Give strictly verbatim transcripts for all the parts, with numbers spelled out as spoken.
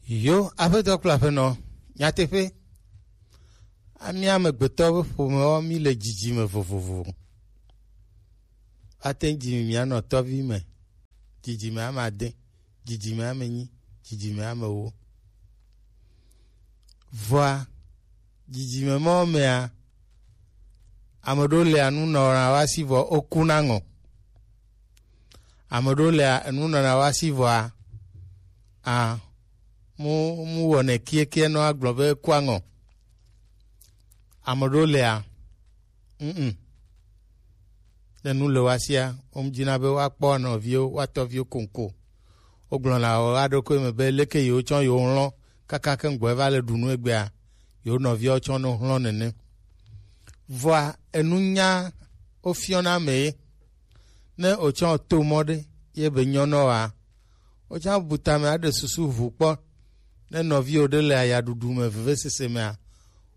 Yo, aƒetɔ kple aƒenɔ, nyateƒe. Ami amegbetɔ be ƒomewo, mi le dzidzime vovovo. Ate ŋu dzi mi mianɔ tɔvi me, dzidzime ame ade, dzidzime ame enyi, dzidzime ame ewo. Vɔa, dzidzime mawo mea, ame ɖewo lia, nu nɔna woasi vɔ wokuna ŋɔ. Ame ɖewo lia, enu nɔna woasi vɔa, a, mu, mu wɔnɛ kiekie nɔ agblɔ be ekua ŋɔ. Ame ɖewo lia, mm, ne nu le woasia, womdina be woakpɔ nɔviwo, woatɔviwo koŋko. Wogblɔna wo aɖokoe me be leke yewotsɔ yewo hlɔ̃ kaka ke ŋgbɔe va le ɖu nu egbea, yewo nɔviawo tsɔ no hlɔ̃ nene. Vɔa, enunya wofiɔna ame ye. Ne wotsɔ to mɔ ɖe, ye be nyɔ nɔ wa. Wotsã bu tame aɖe susu ʋu kpɔ. Ne nɔviwo ɖe le ayaɖuɖu me, vevesese mea,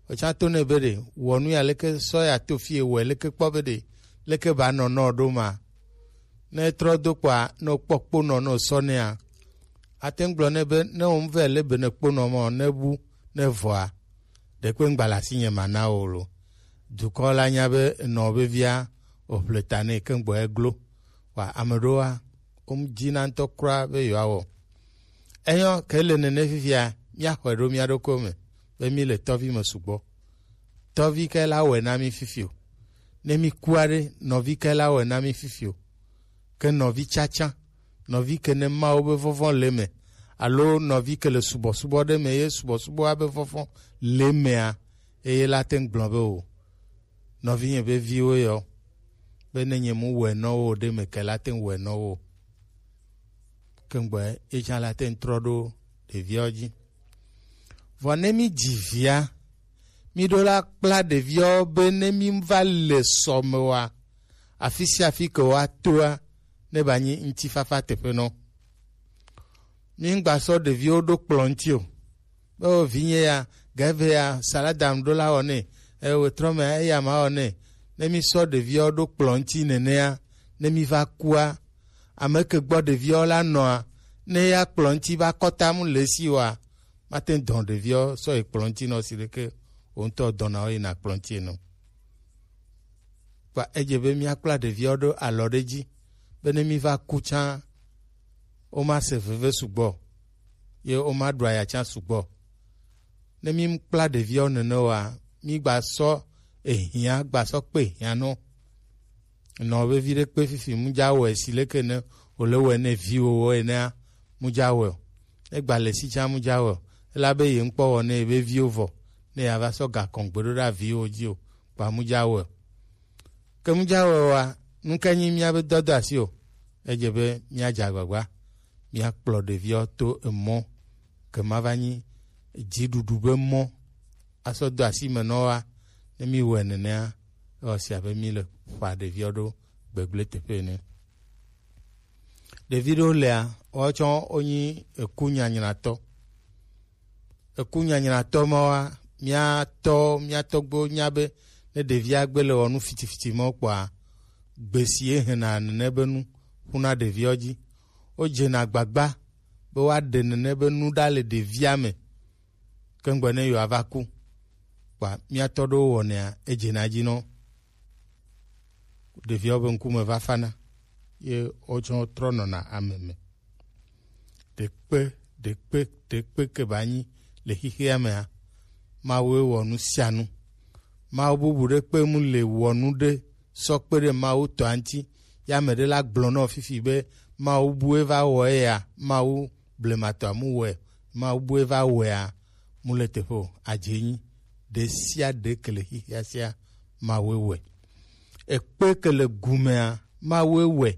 wotsã to nɛ be ɖe, wɔ nu ya leke, sɔ ya to fie, wɔe leke kpɔ be ɖe, leke ba nɔ nɔ ɖo ma. Ne trɔ do kpɔa, ne wokpɔ kponɔ, ne wosɔ nɛa, ate ŋu gblɔ nɛ be, ne wo ŋu vɛ le be ne kponɔ mɔ, ne bu, ne vɔa, ɖekpe ŋgba le asinye mana o lo. Dukɔ la nya be enɔ vevia, wòƒle ta nɛ ke ŋgbɔ eglo. Wa ame ɖewoa, womdina ŋutɔ kura be yewoawɔ. Enyɔ, ke le nene fifia, míaxɔe ɖo mía ɖokuiwo me, be mí le tɔvi me sugbɔ. Tɔvi ke la wɔe na mí fifi o. Ne mí kua ɖe, nɔvi ke la wɔe na mí fifi o. Ke nɔvi tsatsa, nɔvi ke ne Mawu be vɔvɔ̃ le eme, alo nɔvi ke le subɔsubɔ ɖe me ye subɔsubɔa be vɔvɔ̃ le emea, eye la te ŋu gblɔ be o, nɔvinye be viwo yɔ, be ne nye mu wɔe nɔ wo ɖe me ke la te ŋu wɔe nɔ wo. Ke ŋgbɔe ye tsã la te ŋu trɔ ɖo ɖeviawo dzi. Vɔ ne mí dzi via, mí ɖo la kpla ɖeviawo be ne mí va le sɔ me wa, afi sia afi ke woatoa, ne ba nyi ŋutifafa teƒe nɔ. Mí ŋgba sɔ ɖeviwo ɖo kplɔ̃ ŋuti o. Be o vinye ya, gave ya, salada ŋu ɖo la wɔ nɛ, e wetrɔ me eya ma wɔ nɛ. Ne mí sɔ ɖeviawo ɖo kplɔ̃ ŋuti nenea, ne mí va kua, ame ke gbɔ ɖeviawo la nɔa, ne ya kplɔ̃ ŋuti va kɔta mu le esi wa, mate ŋu dɔn ɖeviawo sɔ yi kplɔ̃ ŋuti nɔ si ɖeke wo ŋutɔ dɔna wo yina kplɔ̃ ŋuti ene o. Kpa edze be míakpla ɖeviawo ɖo alɔ ɖe dzi, be ne míva ku tsã, womase veve sugbɔ, ye womaɖu aya tsã sugbɔ. Ne míkpla ɖeviawo nene oa, mígba sɔ ehiã, gba sɔ kpe ehiã nɔ. Nɔ vevi ɖe kpe fifi, mu dza wɔe si leke ne wòle wɔe ne viwòwo enea, mu dza wɔe o. Egba le si tsã mu dza wɔe o. Elabe ye ŋkpɔ wɔ ne ye be viwo vɔ, ne yeava sɔ gakɔ ŋgbe ɖo ɖe aviwo dzi o, kpa mu dza wɔe o. Ke mu dza wɔe oa, nu kae nyi míabe dɔdeasi o? Edze be míadze agbagba, míakplɔ ɖeviawo to emɔ ke ma va nyi dziɖuɖu be mɔ asɔ do asi me nɔ wa. Ne mí wɔe nenea, ewɔ sia be mí le ƒa ɖeviawo ɖo gbegblẽ teƒe ene. Ɖevi ɖewo lea, woawo tsã wonyi eku nyanyratɔ. Eku nyanyratɔ mawoa, mía tɔ, mía tɔgbuiwo nya be ne ɖevia gbe le wɔ nu fitifiti mawo kpɔa, gbe si ye hena nene be nu ƒuna ɖeviawo dzi. Wodzena agbagba be woaɖe nene be nu ɖa le ɖevia me. Ke ŋgbe ne yewoava ku, kpa mía tɔ ɖewo wɔnɛa, edzena edzi nɔ. Ɖeviawo be ŋkume va fana, ye wotsɔ trɔ nɔna ame me. Ɖekpe, ɖekpe, ɖekpe ke ba nyi le xixea mea, Mawue wɔ nu sia nu. Mawu bubu ɖe kpe mu le wɔ nu ɖe sɔ kpe ɖe Mawu tɔa ŋuti. Ya ame ɖe la gblɔ nɔ fifi be Mawu bue va wɔ eya, Mawu blematɔa mu wɔe, Mawu bue va wɔea, mu le teƒe o, adze nyi. Ɖe sia ɖe ke le xixea sia, Mawue wɔe. Ekpe ke le gumea, Mawue wɔe.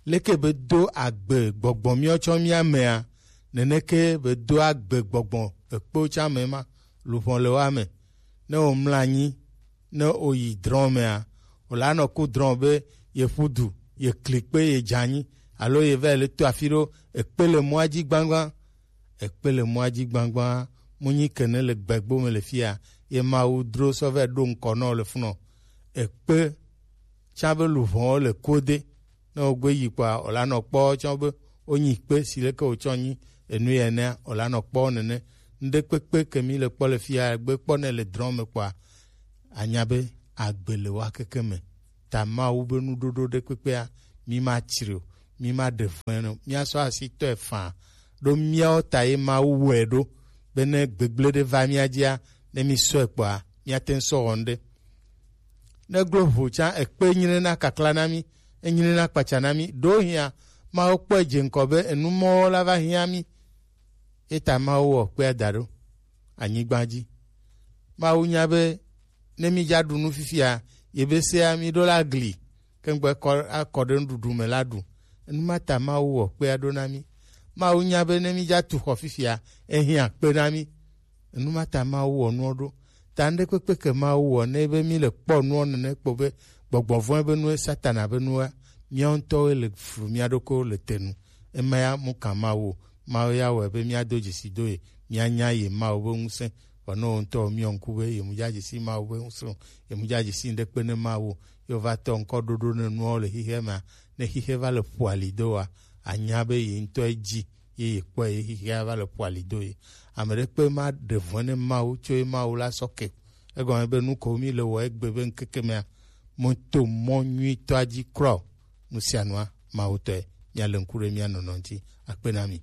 Leke be do agbe gbɔgbɔ míawo tsɔ mía mea, neneke be do agbe gbɔgbɔ ekpewo tsã me ma, luʋɔ le woa me. Ne womlɔ anyi, ne woyi drɔ̃ mea, wòle anɔ ku drɔ̃ be yeƒu du, yekli kpe, yedze anyi, alo yeva yi le to afi ɖo, ekpe le mɔa dzi gbãgbã. Ekpe le mɔa dzi gbãgbã, mu nyi ke ne le gbegbo me le fia, ye Mawu dro sɔ vɛ ɖo ŋkɔ nɔ le funɔ. Ekpe tsã be luʋɔwo le kode, ne wogbe yi kpɔa, wòle anɔ kpɔ tsã be wonyi kpe si leke wotsɔ nyi enu ya enea, wòlanɔ kpɔ nene. Ŋɖekpekpe ke mi le kpɔ le fia, gbe kpɔ ne le drɔ̃ me kpɔa, anya be agbe le wa keke me. Ta Mawu be nuɖoɖo ɖekpekpea, mi ma tsri o, mi ma ɖe vɔ̃e o, mia sɔ asi tɔe faa. Ɖo miawo ta ye Mawu wɔe ɖo, be ne gbegblẽ ɖe va mia dzia, ne mi sɔe kpɔa, miate ŋu sɔ wɔ ŋɖe. Ne glo ʋu tsã, ekpe nyre na kakla na mi, enyre na kpatsa na mi. Ɖewohĩa, Mawu kpɔe dze ŋkɔ be enu mɔwo la va hiã mi. Eta Mawu wɔ kpea da ɖo anyigba dzi. Mawu nya be ne mi dza ɖu nu fifia, yebe sea mi ɖo la gli, kengbe kɔ akɔ ɖe nuɖuɖu me la ɖu. Enu ma ta Mawu wɔ kpea ɖo na mi. Mawu nya be ne mi dza tu xɔ fifia, ehiã kpe na mi. Enu ma ta Mawu wɔ nuɔ ɖo. Ta ŋɖekpekpe ke Mawu wɔ ne be mi le kpɔ nuɔ nene kpɔ be gbɔgbɔ vɔ̃e be nue, Satana be nua, miawo ŋutɔwoe le flu mia ɖokuiwo le te nu. Ema ya mu kan Mawu o. Mawu ya wɔe be miado dzesi do ye, mianya ye Mawu be ŋusẽ. Vɔ ne wo ŋutɔ miɔ ŋku be ye mu dza dzesi Mawu be ŋusẽ o, ye mu dza dzesi ŋɖekpe ne Mawu o, ye wova tɔ ŋkɔ ɖoɖo ne nuawo le xixea mea, ne xixea va le ƒo ali do wa, anya be ye ŋutɔ edzi ye ye kpɔe ye xixea va le ƒo ali do ye. Ame ɖekpe ma ɖe vɔ̃e ne Mawu tso ye Mawu la sɔ ke. Egɔme be nu ko mi le wɔ egbe be ŋkeke mea, mo to mɔ nyuitɔa dzi kura o. Nu sia nua Mawu tɔe. Mia le ŋku ɖe mia nɔnɔ ŋuti. Akpe na mi.